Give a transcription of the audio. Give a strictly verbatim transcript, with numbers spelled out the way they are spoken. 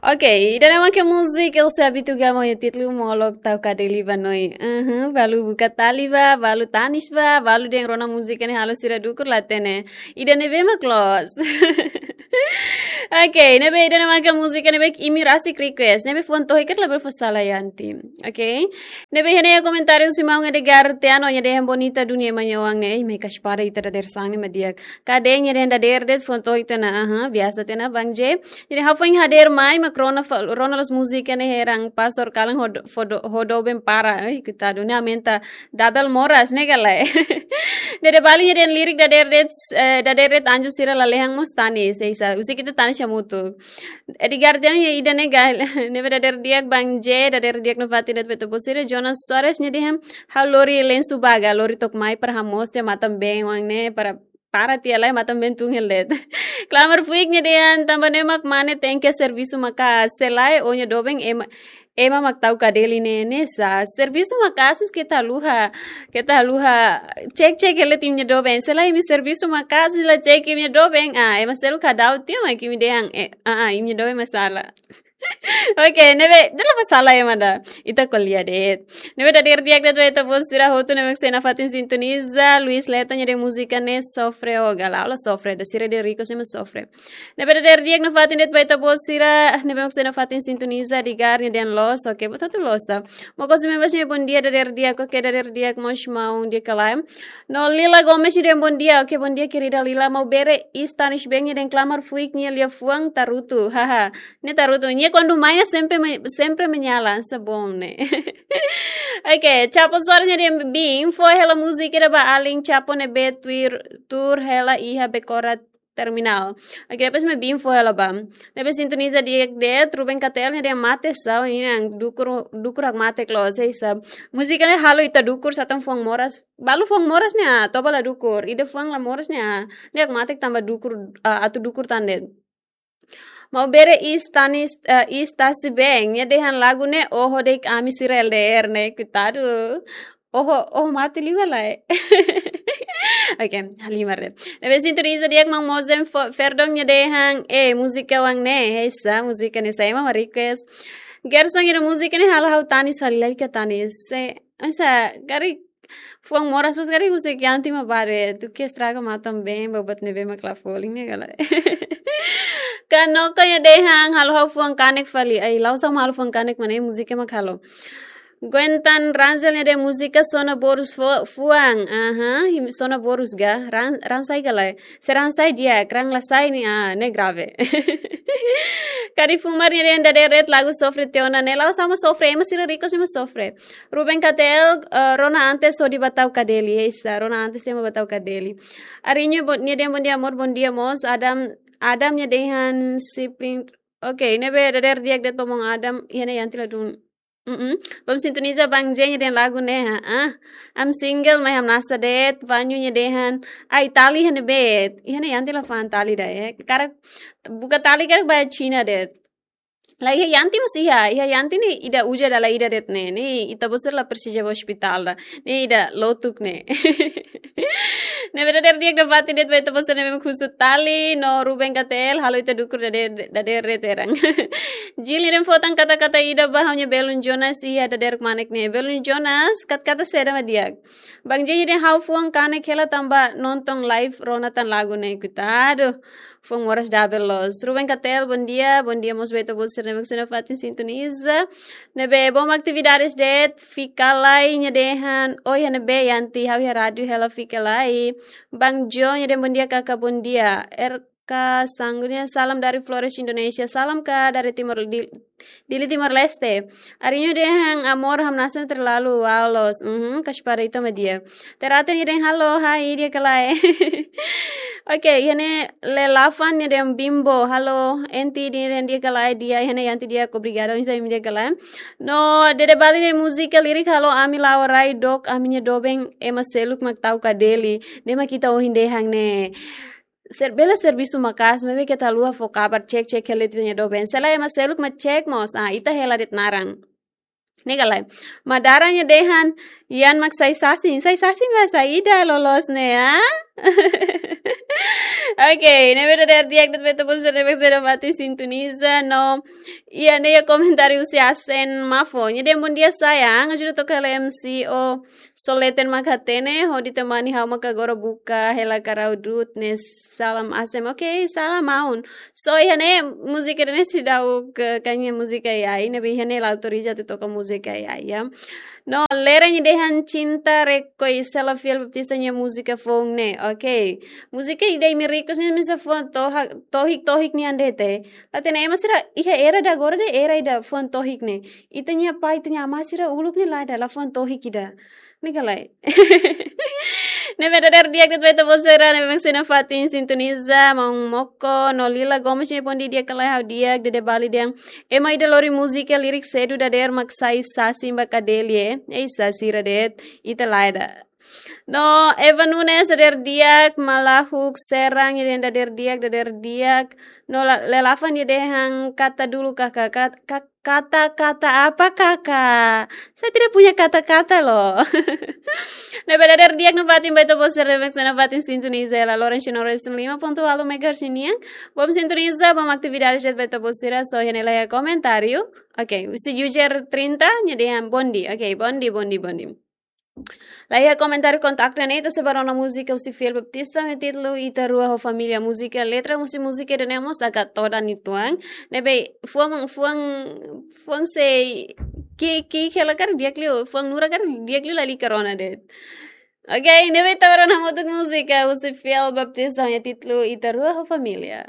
Ok, ida-ne'e mak múzika, eu sei abitu gamo ya títulu molok tau kadeli ba noi. Uhum, balu buka tali ba, balu tanis ba, balu dehan rona múzika ne'e halo sira dukur la hatene. Ida-ne'ebé mak loos. Ok, ne'ebé ida-ne'e mak múzika ne'ebé imi rasik request. Ne'ebé fuan tohik karik labele fó sala Yanti. Ok? Ne'ebé iha ne'e komentáriu husi maun Edgar Teano nia dehan bonita dunia ema nia oan ne'e. Ei, mai kasih pada ita dadeer-saan ne'e mak di'ak. Kadein nia dehan dadeer de'it fuan tohik tiha ona, aha, biasa tiha ona Bang J. Nia dehan ha'u foin hadeer mai mak rona fa-, rona loos múzika ne'e heran pastor kalan hodo-, fodo-, ho doben para. Ai, koitadu, ne'e aumenta double moras ne'e ka lae. Dede Bali nia dehan lirik dadeer de'it, eh, dadeer de'it anju sira lalehan mós tanis, sei sa. Husik ita tanis hamutuk. Edgar Teano nia ida-ne'e gal, ne'ebé dadeer di'ak Bang J, dadeer di'ak nafatin de'it ba ita-boot sira. Jonas Soares nia dehan, ha'u lori lensu baga, lori took mai para hamoos tiha matan-been oan ne'e, para, para tiha lai matan-been tun hela de'it. Klamar Fuik nia dehan, tanba ne'e mak mane tenke servisu maka'as, se lae ó-nia doben ema, ema mak tau kadeli ne'e, ne'e sá. Servisu maka'as, mas keta haluha, keta haluha cek-cek hela de'it imi-nia doben. Se lae imi servisu maka'as, la cek imi-nia doben. Ah, ema seluk ka daudaun tiha mak imi dehan, eh, ah, ah, imi-nia doben mak sala. Ok, ne'ebé, dala fó sala ema ida. Ita ko'alia de'it. Ne'ebé dadeer di'ak de'it ba ita-boot sira hotu ne'ebé mak sei nafatin sintoniza. Luis Leta nia dehan múzika ne'e sofre o gala. Ha'u la sofre, ida sira dehan request ne'e mak sofre. Ne'ebé dadeer di'ak nafatin de'it ba ita-boot sira, ne'ebé mak sei nafatin sintoniza. Edgar nia dehan loos, ok, buat hotu loos sa. Mokos Membas nia bondia, dadeer di'ak, ok, dadeer di'ak mós maun di'ak ka lae. No Lila Gomes nia dehan bondia, ok, bondia querida Lila, Maubere Istanis Beng nia dehan Klamar Fuik nia liafuan tarutu, haha. Ne'e tarutu, nia kuandu mai ne'e sempre me-, sempre menyala, se bom ne'e. Ok, Chapo Soares nia dehan biin fó hela múzika ida ba alin Chapo ne'ebé tuir, tuur hela iha Becora Terminal. Ok, depois mak biin fó hela ba. Ne'ebé sintoniza di'ak de'it, Ruben Katel nia dehan mate sá, inan dukur, dukur hakmatek loos, sei sa. Múzika ne'e halo ita dukur, sá tan fuan moras. Balu fuan moras ne'e, ah, toba la dukur. Ida fuan la moras ne'e, ah. Ne'e hakmatek tanba dukur, ah, atu dukur tan de'it. Maubere Istanis, eh, Istasi Beng nia dehan lagu ne'e oho de'it ami sira L D R ne'e, koitadu. Oho, oho mate liu ka lae. Ok, halimar de'it. Ne'ebé sintoniza di'ak maun Mozen fo-, Ferdon nia dehan, eh, múzika oan ne'e, eh, sá, múzika ne'e sá, ema mak request. Gerson nia dehan múzika ne'e halo ha'u tanis fali, lalika tanis. Se, esa, karik fuan moras, mas karik husik Yanti mak bá de'it, duké estraga matan-been, ba buat ne'ebé mak la folin ne'e ka lae. Kanoko nia dehan halo ha'u fuan kanek fali, ai, la'ós ha'u mak halo fuan kanek, mane múzika mak halo. Gwentan Rangel nia dehan múzika sona borus fo-, fuan, aha, him-, sona borus ga, ran-, raan sai ka lae. Se raan sai di'ak, raan la sai ne'e, ah, ne'e grave. Kari Fumar nia dehan dadeer de'it lagu sofre tiha ona ne'e, la'ós ha'u mak sofre, ema sira request ne'e mak sofre. Ruben Katel, eh, rona antes hodi bá tau kadeli, eh, sá, rona antes tiha mak bá tau kadeli. Arinho bo-, nia dehan bondia amor, bondia mós, Adam, Adam nia dehan sibling, ok, ne'ebé dadeer di'ak de'it ba maun Adam, iha ne'e Yanti ladún. Mm-mm. Bom sintoniza Bang J nia dehan lagu ne'e, ha, ah. Am single, mai hamnasa de'it, Vanyu nia dehan, ai, tali iha ne'ebé, iha ne'e Yanti la fa'an tali ida, eh. Karik, buka tali karik ba Xina de'it. La iha Yanti mós iha, iha Yanti ne'e ida uza dala ida de'it ne'e, ne'e ita-boot sira la presiza bá ospitál ida, ne'e ida lotuk ne'e. Ne'ebé dadeer di'ak nafatin de'it ba ita-boot sira ne'ebé mak husu tali, no Ruben Katel, halo ita dukur dadeer, dadeer de'it heran. Jil nia dehan fó tan kata-kata ida ba ha'u-nia belun Jonas iha dadeer kmanek ne'e. Belun Jonas, kat-, kata saida mak di'ak. Bang J nia dehan ha'u fuan kanek hela tanba nonton live rona tan lagu ne'e, koitadu. Fuan moras double loos. Ruben Katel, bondia, bondia mós ba ita-boot sira ne'ebé mak sei nafatin sintoniza. Ne'ebé bom atividades de'it, fika lai nia dehan, oi, iha ne'ebé Yanti, ha'u iha rádiu hela fika lai. Bang Jo nia dehan bondia kaka, bondia. R K Sanggu nia salam dari Flores, Indonesia. Salam ka dari Timor, di, Dili, Timor Leste. Arinho dehan amor hamnasa terlalu, wow, loos. Mhm, kasih pada ita mak di'ak. Terate nia dehan halo, hai, di'ak ka lae. Ok, iha ne'e Lelafan nia dehan Bimbo, halo, Enti, nia dehan di'ak ka lae, di'ak, iha ne'e Yanti di'ak, obrigada, oinsá imi di'ak ka lae. No, Dede Bali nia múzika lirik halo ami la'o rai dook, ami-nia doben, ema seluk mak tau kadeli, ne'e mak ita ohin dehan ne'e. Ser-, bele servisu maka'as, maibé keta haluha fó kabar, cek-cek hela de'it ita-nia doben. Se lae ema seluk mak cek mós, ah, ita hela de'it naran. Ne'e ka lae. Madara nia dehan, Ian mak sai sasin, sai sasin bahasa ida loloos ne'e, ah? Oke, ne'ebé dadeer di'ak de'it ba ita-boot sira ne'ebé sei nafatin sintoniza, no iha ne'e iha komentáriu husi Asen Mafo. Nia dehan bom dia sayang, ajuda toka hela M C O Soleten mak hatene, hodi temani ha'u maka agora buka hela karau dut ne salam Asen. Oke, salam maun. So, iha ne'e múzika ida-ne'e seidauk, eh, kainga múzika ai-ai, ne'ebé iha ne'e la autoriza atu toka múzika ai-ai, ya. No, Lera nia dehan Cinta Rekoisela Fiel Baptista nia múzika foun ne'e. Oke. Múzika ida imi request ne'e misa foun toha-, tohik-tohik nian de'it. La hatene ema sira iha era ida agora de'it era ida foun tohik ne'e. Ita-nia pai, ita-nia amá sira uluk ne'e la dala foun tohik ida. Ne'e ka lae. Ne'ebé dadeer di'ak de'it ba ita-boot sira ne'ebé sei nafatin sintoniza, maun Moko, no Lila Gomes nia bom dia, di'ak ka lae, ha'u di'ak, Dede Bali dehan ema ida lori múzika lirik sedu dadeer mak sai sasin ba kadelie. Ei, sasin sira de'it, ita lae ida. No, Eva Nunes, dadeer di'ak, Malahuk Serang, nia dehan dadeer di'ak, dadeer di'ak. No, La-, Lelafan nia dehan kata dulu, Kakak, kat-, kak-, kata, kata apa, Kakak? Saya tidak punya kata-kata, loh. Ne'ebé dadeer di'ak nafatin ba ita-boot sira ne'ebé sei nafatin sintoniza hela Loren Chino Racing lima ponto walu megahertz nian. Bom sintoniza, bom atividade de'it ba ita-boot sira, so iha ne'e la iha komentáriu. Oke, husi user trinta, nia dehan bom dia. Oke, bom dia, bom dia, bom dia. La iha komentáriu kontaktu ne'e, ita sei bá rona múzika husi Fiel Baptista, ho títulu Ita Rua ho Família. Múzika, letra husi múzika ida-ne'e mós agak todan uitoan. Ne'ebé fuan, fuan, fuan sei ki'ik, ki'ik hela karik di'ak liu, fuan nura karik di'ak liu lalika rona de'it. Oke, ne'ebé ita bá rona hamutuk múzika husi Fiel Baptista, ho títulu Ita Rua ho Família.